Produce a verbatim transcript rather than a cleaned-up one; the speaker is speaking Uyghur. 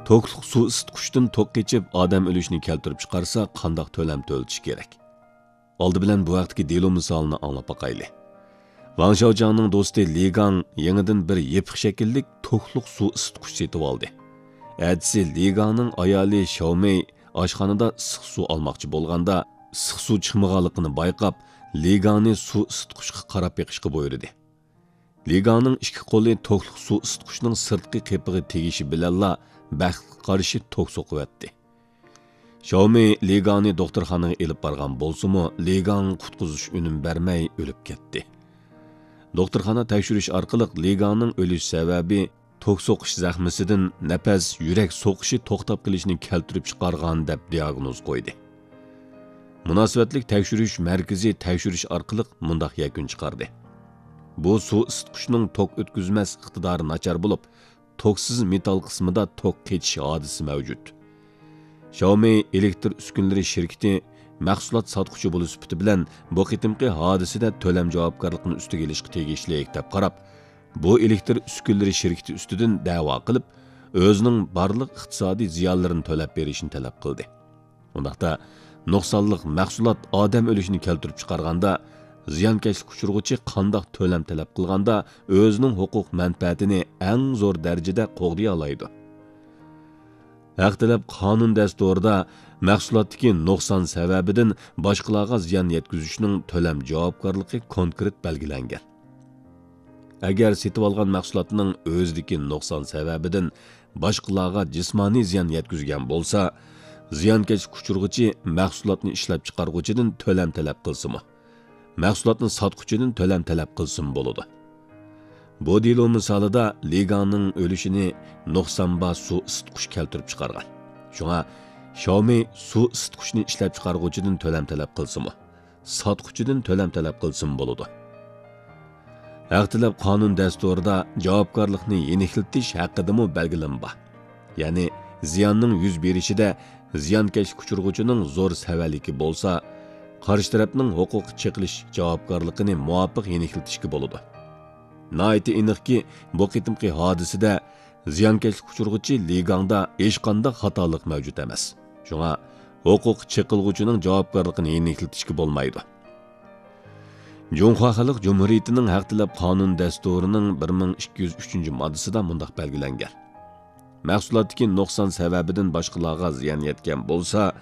توكلۇق سۇ ئىسسىتقۇچتىن توك قېچىپ، ئادەم ئۆلۈشىنى كەلتۈرۈپ چىقارسا، قانداق تۆلەم تۆلىتىش كېرەك؟ ئالدى بىلەن بۇ ھەقتىكى دېلو مىسالىنى ئاڭلاپ باقايلى. ۋاڭ شياۋجياڭنىڭ دوستى لى گاڭ يېڭىدىن بىر يېپىق شەكىللىك توكلۇق سۇ ئىسسىتقۇچ سېتىۋالدى. ئەتىسى لى گاڭنىڭ ئايالى شياۋمېي ئاشخانىدا ئىسسىق سۇ ئالماقچى بولغاندا، ئىسسىق سۇ چىقمىغانلىقىنى بايقاپ، لى گاڭنى سۇ ئىسسىتقۇچقا قاراپ بېقىشقا بۇيرۇدى. لى گاڭنىڭ ئىككى قولى توكلۇق سۇ ئىسسىتقۇچنىڭ سىرتقى قېپىغا تېگىشى بىلەنلا بەختكە قارشى توك سوقۇۋەتتى. شياۋمېي لى گاڭنى دوختۇرخانىغا ئېلىپ بارغان بولسىمۇ، لى گاڭ قۇتقۇزۇش ئۈنۈم بەرمەي ئۆلۈپ كەتتى. دوختۇرخانا تەكشۈرۈش ئارقىلىق لى گاڭنىڭ ئۆلۈش سەۋەبى توك سوقۇش زەخمىسىدىن نەپەس، يۈرەك سوقۇشى توختاپ قېلىشنى كەلتۈرۈپ چىقارغان دەپ دىئاگنوز قويدى. مۇناسىۋەتلىك تەكشۈرۈش مەركىزى تەكشۈرۈش ئارقىلىق مۇنداق يەكۈن چىقاردى: بۇ سۇ ئىسسىتقۇچنىڭ توك ئۆتكۈزمەس ئىقتىدارى ناچار بولۇپ، توكسىز مېتال قىسمىدا توك قېچىش ھادىسىسى مەۋجۇت. شياۋمېي ئېلېكتر ئۈسكۈنىلىرى شىركىتى مەھسۇلات ساتقۇچى بولۇش سۈپىتى بىلەن بۇ قېتىمقى ھادىسىدە تۆلەم جاۋابكارلىقىنى ئۈستىگە ئېلىشقا تېگىشلىك دەپ قاراپ، بۇ ئېلېكتر ئۈسكۈنىلىرى شىركىتى ئۈستىدىن دەۋا قىلىپ، ئۆزىنىڭ بارلىق ئىقتىسادىي زىيانلىرىنى تۆلەپ بېرىشنى تەلەپ قىلدى. ئۇنداقتا، نۇقسانلىق مەھسۇلات ئادەم ئۆلۈشىنى كەلتۈرۈپ چىقارغاندا، زىيانكەشلىك ئۇچرىغۇچى قانداق تۆلەم تەلەپ قىلغاندا ئۆزىنىڭ ھوقۇق مەنپەئەتىنى ئەڭ زور دەرىجىدە قوغدىيالايدۇ؟ ھەق تەلەپ قانۇن دەستۇرىدا مەھسۇلاتتىكى نۇقسان سەۋەبىدىن باشقىلارغا زىيان يەتكۈزۈشنىڭ تۆلەم جاۋابكارلىقى كونكرېت بەلگىلەنگەن. ئەگەر سېتىۋالغان مەھسۇلاتنىڭ ئۆزىدىكى نۇقسان سەۋەبىدىن باشقىلارغا جىسمانىي زىيان يەتكۈزگەن بولسا، زىيانكەشلىك ئۇچرىغۇچى مەھسۇلاتنى ئىشلەپچىقارغۇچىدىن تۆلەم تەلەپ قىلسىمۇ، مەھسۇلاتنى ساتقۇچىدىن تۆلەم تەلەپ قىلسىمۇ بولىدۇ. بۇ دېلو مىسالىدا لى گاڭنىڭ ئۆلۈشىنى نۇقسان بار سۇ ئىسسىتقۇچ كەلتۈرۈپ چىقارغان. شۇڭا شياۋمېي سۇ ئىسسىتقۇچنى ئىشلەپچىقارغۇچىدىن تۆلەم تەلەپ قىلسىمۇ، ساتقۇچىدىن تۆلەم تەلەپ قىلسىمۇ بولىدۇ. ھەق تەلەپ قانۇن دەستۇرىدا جاۋابكارلىقنى يېنىكلىتىش ھەققىدىمۇ بەلگىلىمە بار. يەنى زىياننىڭ يۈز بېرىشىدە زىيانكەشلىك ئۇچرىغۇچىنىڭ زور سەۋەنلىكى بولسا، قارشى تەرەپنىڭ ھوقۇققا چېقىلىش جاۋابكارلىقىنى مۇۋاپىق يېنىكلىتىشكە بولىدۇ. ناھايىتى ئېنىقكى، بۇ قېتىمقى ھادىسىدە زىيانكەشلىك ئۇچرىغۇچى لى گاڭدا ھېچقانداق خاتالىق مەۋجۇت ئەمەس. شۇڭا ھوقۇق چېقىلغۇچىنىڭ جاۋابكارلىقىنى يېنىكلىتىشكە بولمايدۇ. جۇڭخۇا خەلق جۇمھۇرىيىتىنىڭ ھەق تەلەپ قانۇن دەستۇرىنىڭ بىر مىڭ ئىككى يۈز ئۈچىنچى ماددىسىدا مۇنداق بەلگىلەنگەن: مەھسۇلاتتىكى نۇقسان سەۋەبىدىن باشقىلارغا زىيان يەتكەن بولسا،